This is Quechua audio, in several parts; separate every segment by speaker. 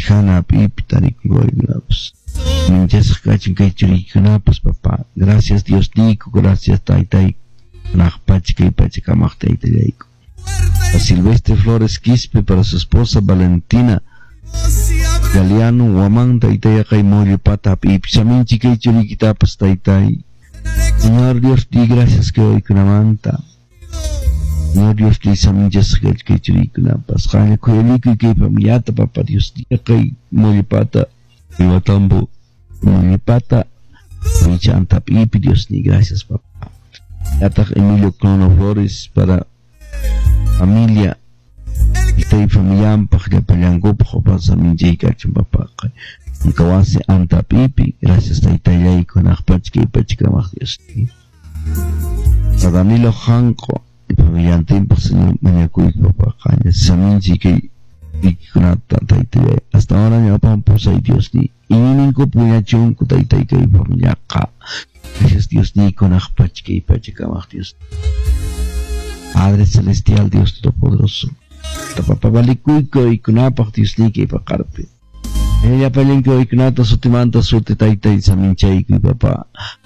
Speaker 1: Chijana pipi tarikuykunapas. Minchasqa kachun kay churiykunapas, papá. Gracias Dios niyku, gracias taytayku. Hanaq pacha kay pacha kamaq taytallayku. A Silvestre Flores Quispe para su esposa Valentina Galeano Guamán taytay kay Mollepata pipi saminchi kay churiykitapas taytay. Señor Dios di gracias kay waykunamanta. Señor Dios di saminchasqa kay churiykunapas. Qanlla khuyalikuy kay familiata papá Dios di kay Mollepata Iwatambo Mollepata Michanta pipi Dios ni gracias papá. Yataq Emilio Clono Flores para familia Itay familiampaq llapallankupaq pasa minchay kachun papá. Nkawasi anta pipi gracias taytallayku hanaq pacha kay pacha kamaq Dios. A Danilo Janco y familiantinpaq Señor mañakuyku papá qanlla saminchi kay ikikunata taytallay hasta ahora ñawpan pusay Dios ni iñininkupi wiñachunku taytay kay familiaqa. Gracias Dios ni hanaq pacha kay pacha kamaq Dios. Padre Celestial Dios Todopoderoso. Papá balikuyku ikunapaq Dios ni kay paqarpi. Llapallanku uykunata sutimanta suti taytay saminchaykuy papá.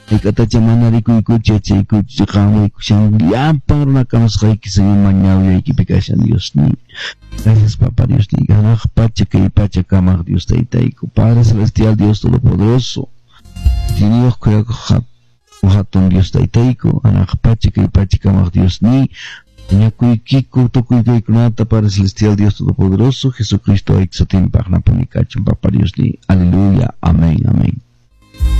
Speaker 1: Hayk'atacha mana rikuykuchu yachaykuchu qanwaykushan llapan runa kamasqayki Señor mañawllaykipi kashan Dios ni. Gracias papá Dios ni. Hanaq pacha kay pacha kamaq Dios taytayku. Padre Celestial Dios Todopoderoso. Tiniyuq kuyakuq hatun Dios taytayku. Hanaq pacha kay pacha kamaq Dios ni. Mañakuykiku tukuy kaykunata Padre Celestial Dios Todopoderoso Jesucristo ayki sutinpaq napunikachun Papá Dios ni. Aleluya. Amén. Amén.